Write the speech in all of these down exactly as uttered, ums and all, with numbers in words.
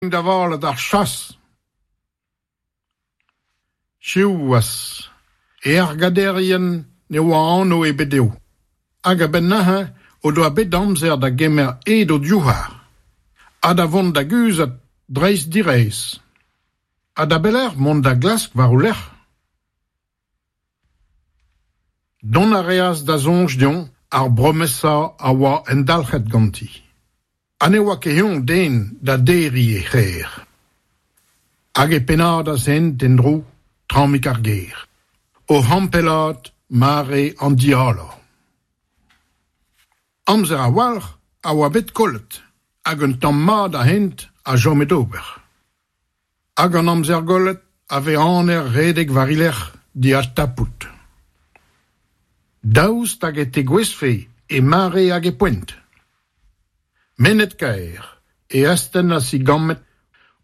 Da welet ar chas. Siwazh, e argaderien ne oa anv ebet dezho, hag a-benn neuze o doa bet amzer da gemer hed o divhar, ha da vont da guzhat dreist-diraez. Ha da belec'h mont da glask war o lerc'h ? Dont a reas da soñj dezhañ ar bromesa a oa endalc'het ganti. Ha ne oa ket eñ den da derriñ e c'her. Hag e pennadas hent en-dro tramik ar gêr, oc'h ampellaat mare an dialañ. Amzer a-walc'h a oa bet kollet hag un tamm mat a hent a chome d'ober. Hag an amzer gollet a vez aner redek war he lerc'h d'he adtapout. Daoust hag e tegouezhfe e mare hag e poent ? Mennet-kaer e astennas e gammed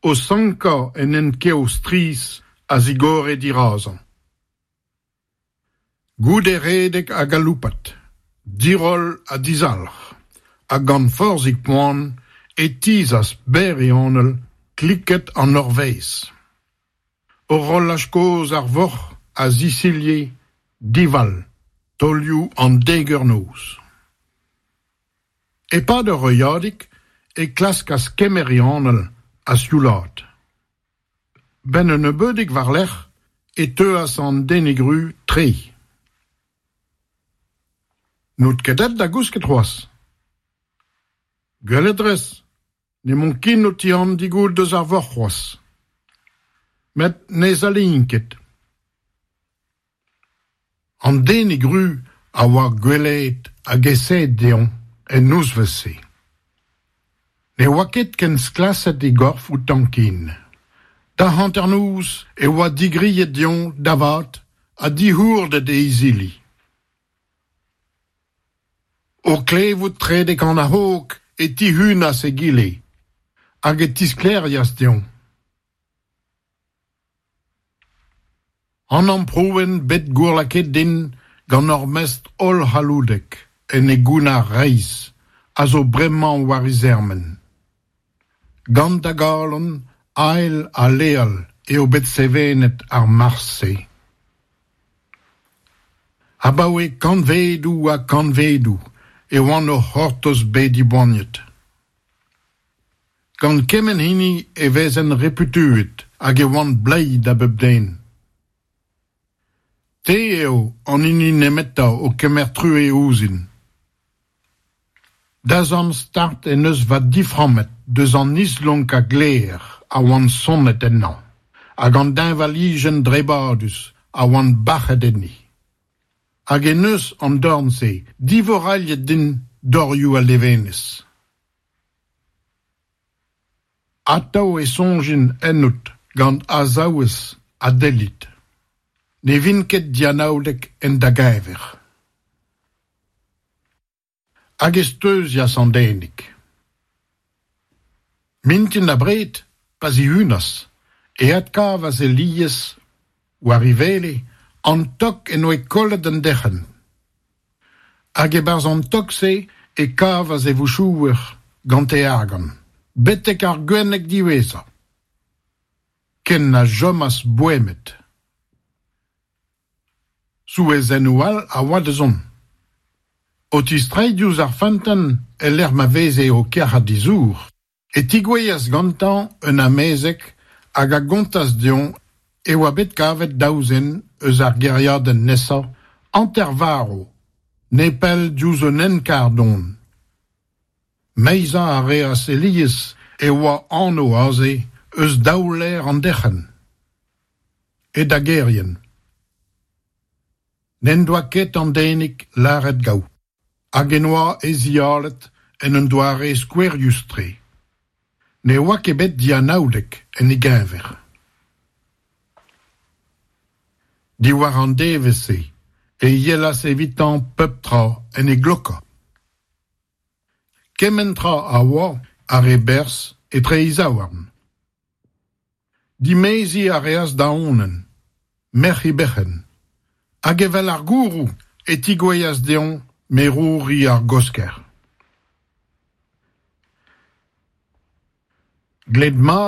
o sankañ en hent-kev strizh a zigore dirazañ. Goude redek ha galoupat, diroll ha dizalc'h, ha gant forzhik poan e tizhas berr e anal kliked an Nor-Vaez. Horolaj kozh ar vourc'h a zisilhe, divall, taolioù an dek eur noz. E-pad ur heuliadig e klaskas kemer e anal ha sioulaat. 'Benn un nebeudig war-lerc'h e teuas an denig ruz tre. N'out ket aet da gousket c'hoazh ? Gwelet 'rez, n'emaon ket o tihan goût eus ar vourc'h c'hoazh. Met ne zalein ket. An denig ruz a oa gwellaet hag aesaet dezhañ en nozvezh-se. Ne oa ket ken sklaset e gorf outañ ken. Da hanternoz e oa digriet dezhañ da vat ha dic'hourdet e izili. O klevout trede kan ar c'hog e tihunas egile hag e tisklêrias dezhañ. An amprouenn bet gourlakaet din gant hor Mestr hollc'halloudek en e gounnar reizh a zo bremañ war he zermen. Gant da galon hael ha leal eo bet sevenet ar marzh-se. Abaoe kantvedoù ha kantvedoù e oan o c'hortoz bezañ diboaniet. Gant kement hini e vezen reputuet hag e oan bleiz da bep den. Te eo an hini nemetañ o kemer truez ouzhin. Da zorn start en deus va diframmet eus an islonk a gler a oan sonnet ennañ hag an deñvalijenn drebadus a oan bac'het enni. Hag en deus an dorn-se divorailhet din dorioù al levenez. Atav e soñjin ennout gant azaouez ha dellid. Ne vin ket dianaoudek en da geñver. Hag e steuzias an denig. Mintin abred, pa zihunas, e adkavas Elies war e wele an tok en doa kollet en derc'hent. Hag e-barzh an tok-se e kavas e vouchouer gant e argant, betek ar gwenneg diwezhañ. Ken na chomas boemet. Souezhennoù all a oa da zont. O tistreiñ diouzh ar feunteun e-lec'h ma veze o kerc'hat e zour, e tegouezhas gantañ un amezeg hag a gontas dezhañ e oa bet kavet daou zen eus ar gêriadenn nesañ hanter-varv, nepell diouzh un hent-karr don. Meizañ a reas Elies e oa anv aze eus daou laer an derc'hent, e dagerien. N'en doa ket an denig lâret gaou, hag en doa e zialet en un doare skouerius-tre. Ne oa ket bet dianaoudek en e geñver. Diwar an devezh-se e yelas evitañ pep tra en e glokañ. Kement tra a oa ar e berzh etre e zaouarn. Dimeziñ a reas da Onenn, merc'h e berc'henn, hag evel argouroù e tegouezhas dezhañ merouri ar Gosker. Glet mat